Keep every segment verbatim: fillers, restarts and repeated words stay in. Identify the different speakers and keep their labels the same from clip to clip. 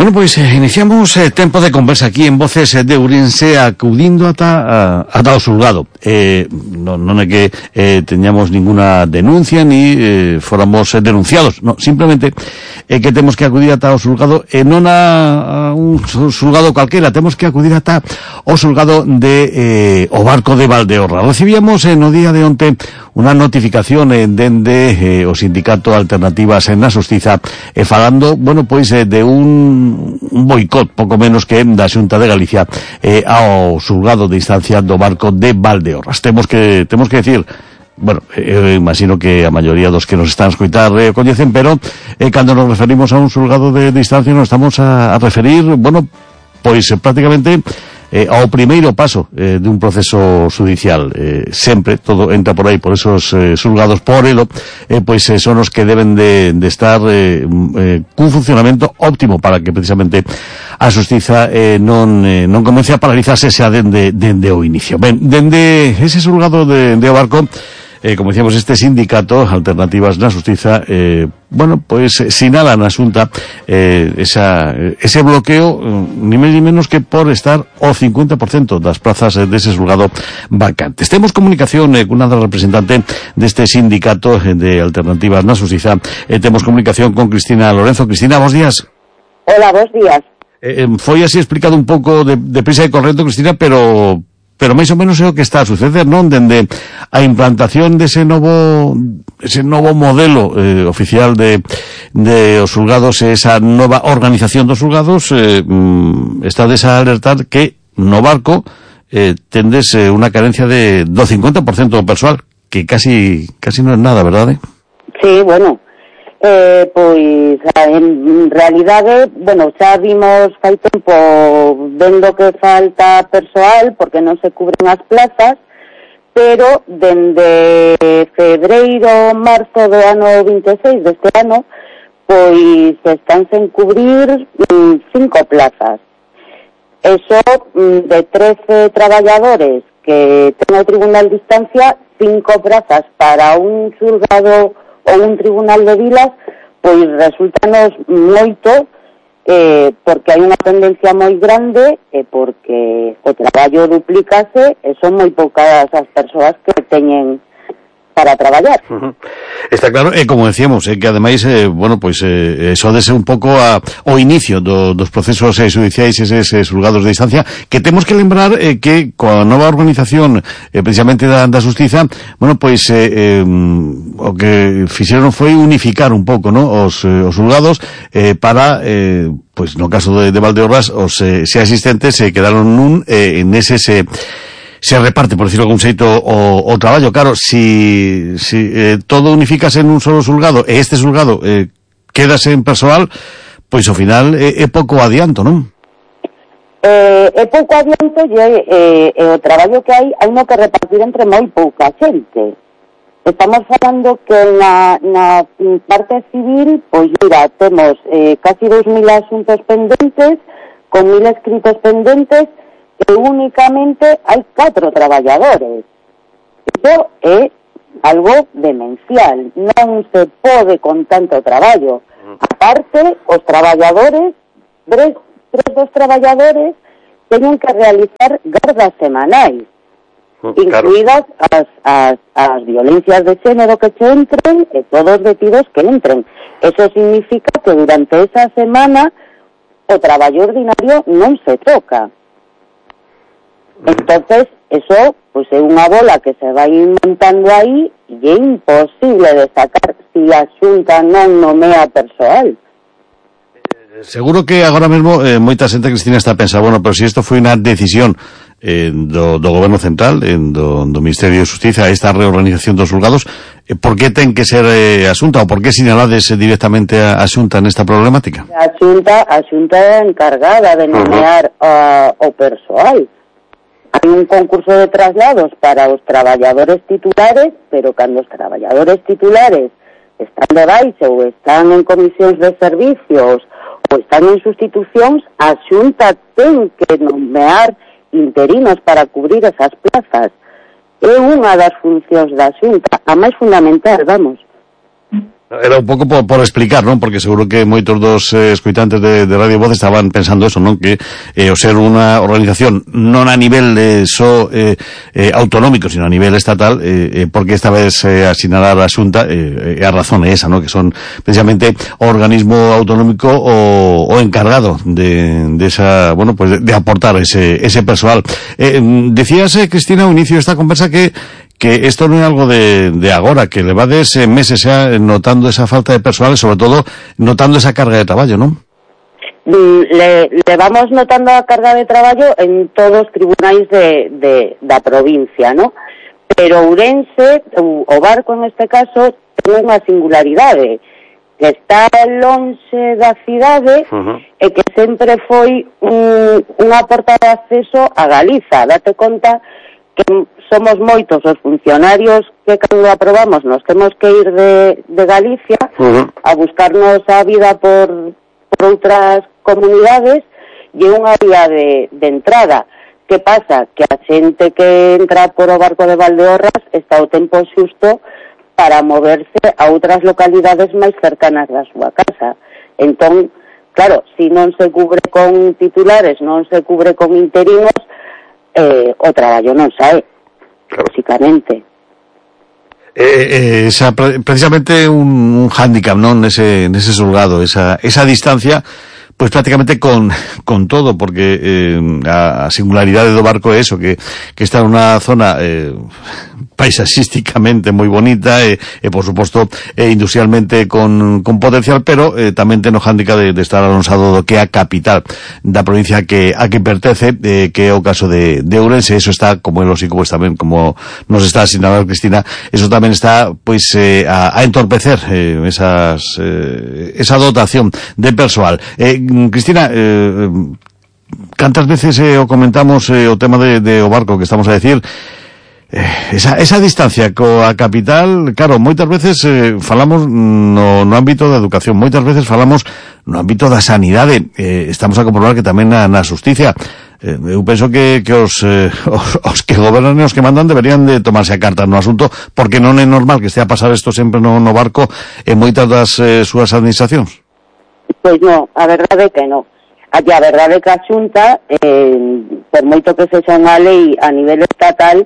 Speaker 1: Bueno, pois eh, iniciamos eh, tempo de conversa aquí en Voces de Ourense acudindo ata, ata o xulgado. Eh, non, non é que eh, teñamos ninguna denuncia ni eh, fóramos eh, denunciados, no, simplemente é eh, que temos que acudir ata o xulgado e eh, non a, a un xulgado calquera, temos que acudir ata o xulgado de eh, o Barco de Valdeorras. Recibíamos eh, no día de onte unha notificación eh, dende eh, o sindicato Alternativas en na Xustiza e eh, falando, bueno, pois eh, de un un boicot, pouco menos que da Xunta de Galicia eh, ao xulgado de instancia do Barco de Valdeorras. Temos que temos que decir, bueno, eu imagino que a maioría dos que nos están a escoitar eh, coñecen, pero eh, cando nos referimos a un xulgado de, de instancia nos estamos a, a referir, bueno, pois eh, prácticamente Eh, ao primeiro paso eh, de un proceso judicial. Eh, sempre todo entra por aí, por esos eh, xulgados por elo, eh, pois eh, son os que deben de, de estar eh, eh, cun funcionamento óptimo para que precisamente a xustiza eh, non eh, non comece a paralizarse xa dende, dende o inicio. Ben, dende ese xulgado de, de o Barco, Eh, como decíamos, este sindicato Alternativas na Xustiza eh, bueno, pois pues, sinala na Xunta eh, esa, ese bloqueo eh, ni máis ni menos que por estar o cincuenta por cento das plazas eh, dese xulgado vacantes. Temos comunicación eh, con unha representante deste sindicato eh, de Alternativas na Xustiza. Eh, temos comunicación con Cristina Lorenzo. Cristina, bons días.
Speaker 2: Hola, bons días.
Speaker 1: Eh, foi así explicado un pouco de, de prisa e correcto, Cristina, pero pero máis ou menos é o que está a suceder, non? Dende a implantación dese novo ese novo modelo eh, oficial de, de os xulgados, esa nova organización dos xulgados, eh, estades a alertar que no Barco eh, tendes eh, unha carencia de, do cincuenta por cento do persoal, que casi casi non é nada, verdade?
Speaker 2: Sí, bueno, eh, pois en realidade, bueno, xa vimos fai tempo vendo que falta persoal porque non se cubren as plazas, pero dende febreiro, marzo do ano vinte e seis deste ano, pois están sen cubrir mm, cinco plazas. Eso mm, de trece traballadores que ten o Tribunal de Instancia, cinco plazas para un xulgado ou un tribunal de vilas, pois resultanos moito eh, porque hai unha tendencia moi grande e eh, porque o traballo duplícase e son moi poucas as persoas que teñen para traballar.
Speaker 1: Uh-huh. Está claro, e eh, como decíamos, eh, que ademais, eh, bueno, pois eh, eso dese un pouco a, o inicio do, dos procesos eh, judiciais, eses eh, xulgados de instancia, que temos que lembrar eh, que coa nova organización eh, precisamente da, da Xustiza, bueno, pois eh, eh, o que fixeron foi unificar un pouco, ¿no? os, eh, os xulgados eh, para eh, pois no caso de, de Valdeorras os eh, xa existentes se eh, quedaron nun eh, en ese se se reparte, por decirlo de algún xeito, o, o traballo. Claro, si, si eh, todo unificase en un solo xulgado e este xulgado eh, quedase en persoal, pois ao final é, é pouco adianto, non?
Speaker 2: Eh, é pouco adianto e eh, eh, o traballo que hai hai no que repartir entre moi pouca xente. Estamos falando que na, na parte civil, pois mira, temos eh, casi dos mil asuntos pendentes, con mil escritos pendentes, e únicamente hai catro traballadores. Iso é algo demencial. Non se pode con tanto traballo. Aparte, os traballadores, tres, tres dos traballadores, teñen que realizar gardas semanais, oh, incluídas claro. as, as, as violencias de xénero que se entren e todos os detidos que entren. Eso significa que durante esa semana o traballo ordinario non se toca. Entonces, eso pues é unha bola que se vai montando aí e é imposible de sacar si a Xunta non nomea persoal.
Speaker 1: Eh, seguro que agora mesmo eh, moita xente, Cristina, está a pensar, bueno, pero si isto foi unha decisión eh, do, do Goberno Central, eh, do, do Ministerio de Xustiza, esta reorganización dos xulgados, eh, por que ten que ser eh, a Xunta, ou por que sinalades eh, directamente a, a Xunta nesta problemática?
Speaker 2: A Xunta, a Xunta é encargada de nomear uh-huh. uh, o persoal. Hai un concurso de traslados para os traballadores titulares, pero cando os traballadores titulares están de baixa ou están en comisións de servicios ou están en sustitucións, a Xunta ten que nomear interinos para cubrir esas plazas. É unha das funcións da Xunta, a máis fundamental, vamos.
Speaker 1: Era un pouco por, por explicar, non? Porque seguro que moitos dos eh, escoitantes de, de Radio Voz estaban pensando eso, non? Que eh, o ser unha organización non a nivel eh, só eh, eh, autonómico, sino a nivel estatal, eh, eh, porque esta vez eh, asinalar a Xunta, eh, eh, a razón é esa, non? Que son precisamente o organismo autonómico o, o encargado de, de esa, bueno, pues de, de aportar ese, ese persoal. Eh, decías, eh, Cristina, ao inicio de esta conversa que que esto no é algo de, de agora, que levades eh, meses xa notando esa falta de persoal e, sobre todo, notando esa carga de traballo, non?
Speaker 2: Le, le vamos notando a carga de traballo en todos os tribunais de, de, da provincia, ¿no? Pero Ourense, o, o Barco en este caso, ten unha singularidade, que está lonxe da cidade, uh-huh, e que sempre foi un, unha porta de acceso a Galiza. Date conta que somos moitos os funcionarios que cando aprobamos nos temos que ir de, de Galicia, uh-huh, a buscarnos a vida por, por outras comunidades, e unha vía de, de entrada. Que pasa? Que a xente que entra por o Barco de Valdeorras está o tempo xusto para moverse a outras localidades máis cercanas da súa casa. Entón, claro, se non se cubre con titulares, non se cubre con interinos, Eh, o traballo non sae, claro, básicamente.
Speaker 1: Eh, eh, esa, precisamente un, un hándicap, non, nese, nese xulgado, esa, esa distancia, pues prácticamente con, con todo, porque eh, a, a singularidade do Barco é eso, que, que está en unha zona eh, paisaxísticamente moi bonita e, e por suposto, eh, industrialmente con, con potencial, pero eh, tamén ten o hándicap de, de estar alonsado do que é a capital da provincia que a que pertence, eh, que é o caso de, de Ourense. Eso está, como é lógico, pues tamén, como nos está asinalando Cristina, eso tamén está, pues, eh, a, a entorpecer eh, esas, eh, esa dotación de persoal. Eh, Cristina, eh, cantas veces eh, o comentamos eh, o tema de, de o Barco, que estamos a decir, Eh, esa, esa distancia coa capital, claro, moitas veces eh, falamos no, no ámbito da educación, moitas veces falamos no ámbito da sanidade, eh, estamos a comprobar que tamén na, na xusticia. Eh, eu penso que, que os, eh, os, os que gobernan e os que mandan deberían de tomarse a cartas no asunto, porque non é normal que estea a pasar isto sempre no, no Barco en moitas das eh, súas administracións.
Speaker 2: Pois non, a verdade é que non. A verdade é que a Xunta, eh, por moito que sexa unha lei a nivel estatal,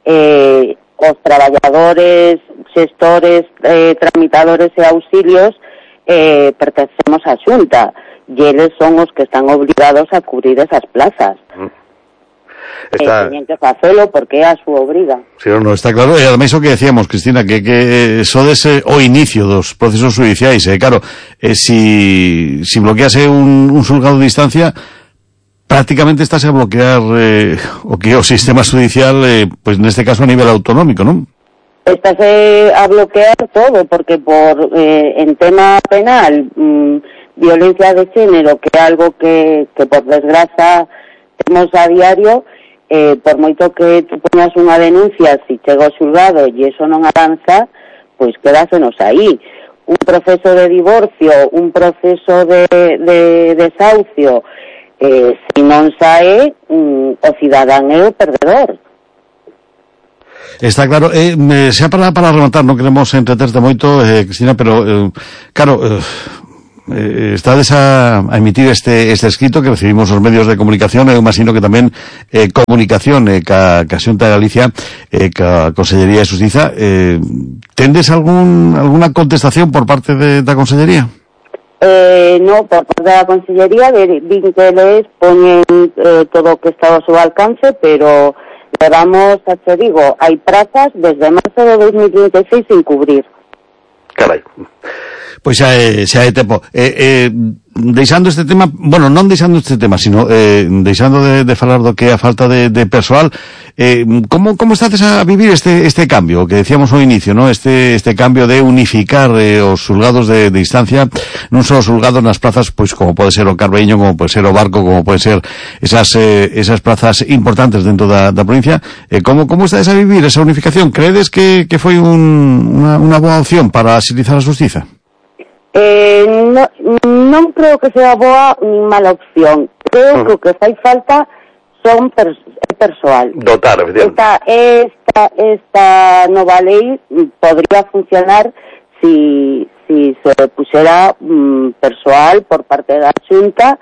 Speaker 2: Eh, os traballadores, xestores, eh, tramitadores e auxilios eh, pertencemos á Xunta e eles son os que están obligados a cubrir esas plazas. Mm. Está... Eh, teñen que facelo porque é a súa obriga.
Speaker 1: Sí, no, está claro. E ademais o que decíamos, Cristina, que, que sodes eh, o inicio dos procesos judiciais, eh, claro, eh, si, si bloquease un, un xulgado de distancia, prácticamente estás a bloquear eh, o que é o sistema judicial, eh, pues neste caso a nivel autonómico, non?
Speaker 2: Estás eh, a bloquear todo, porque por eh, en tema penal, mmm, violencia de xénero, que é algo que, que por desgraza temos a diario, eh, por moito que tú poñas unha denuncia, si chega ao xulgado e iso non avanza, pois quedásenos aí. Un proceso de divorcio, un proceso de, de desahucio, Eh, se non sae, mm, o cidadán é o perdedor.
Speaker 1: Está claro. Eh, xa para, para rematar, non queremos entreterte moito, eh, Cristina, pero eh, claro, eh, eh, estades a, a emitir este, este escrito que recibimos os medios de comunicación, eu imagino que tamén eh, comunicación eh, ca, ca Xunta de Galicia, eh, ca Consellería de Xustiza. Eh, tendes algún, alguna contestación por parte de, da Consellería?
Speaker 2: Eh, no, por parte da Consellería din que eles poñen eh, todo o que está ao seu alcance, pero levamos, xa te digo, hai prazas desde marzo de dos mil vinte e seis sin cubrir.
Speaker 1: Carai. Pois xa é, xa é tempo. Eh, eh, deixando este tema, bueno, non deixando este tema, sino eh, deixando de, de falar do que é a falta de, de persoal, eh, como, como estades a vivir este, este cambio, que decíamos ao inicio, ¿no? Este, este cambio de unificar eh, os xulgados de, de instancia, non só os xulgados nas plazas, pois como pode ser o Carbeño, como pode ser o Barco, como pode ser esas, eh, esas plazas importantes dentro da, da provincia. Eh, como, como estades a vivir esa unificación? Credes que, que foi un, unha, unha boa opción para agilizar a xustiza?
Speaker 2: Eh, no, non creo que sea boa ni mala opción. Creo uh-huh. que o que fai falta son pers persoal.
Speaker 1: Dotar,
Speaker 2: esta, esta, esta nova lei podría funcionar si, si se puxera mm, persoal por parte da Xunta,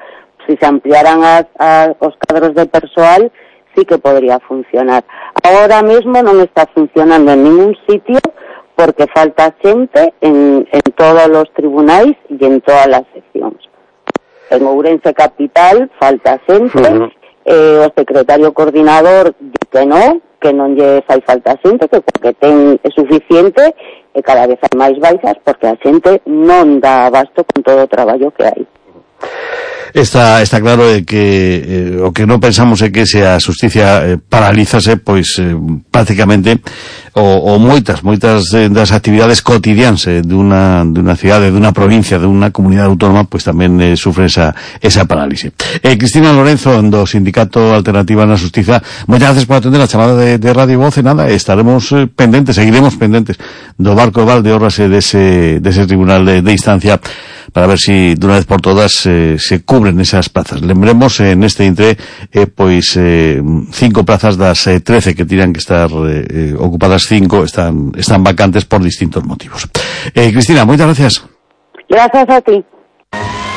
Speaker 2: si se ampliaran as, as, os cadros de persoal, sí que podría funcionar. Ahora mesmo non está funcionando en ningún sitio porque falta xente en, en todos os tribunais e en todas as seccións. En Ourense Capital falta xente, uh-huh. eh, o secretario coordinador di que non, que non lle fai falta xente, que porque ten é suficiente, e cada vez hai máis baixas porque a xente non dá abasto con todo o traballo que hai.
Speaker 1: Está, está claro de que eh, o que non pensamos é que se a xusticia eh, paralízase, pois eh, prácticamente o, o moitas, moitas eh, das actividades cotidianas eh, dunha, dunha cidade, dunha provincia, dunha comunidade autónoma, pois tamén eh, sufre esa, esa parálise. Eh, Cristina Lorenzo, do Sindicato Alternativa na Xustiza, moitas gracias por atender a chamada de, de Radio Voz, e nada, estaremos eh, pendentes, seguiremos pendentes do barco de Valdeorras e dese, dese tribunal de, de instancia, para ver si de unha vez por todas eh, se cubren esas plazas. Lembremos eh, neste intre eh, pois eh, cinco plazas das eh, trece que tiran que estar eh, ocupadas, cinco están están vacantes por distintos motivos. Eh, Cristina, moitas gracias.
Speaker 2: Gracias a ti.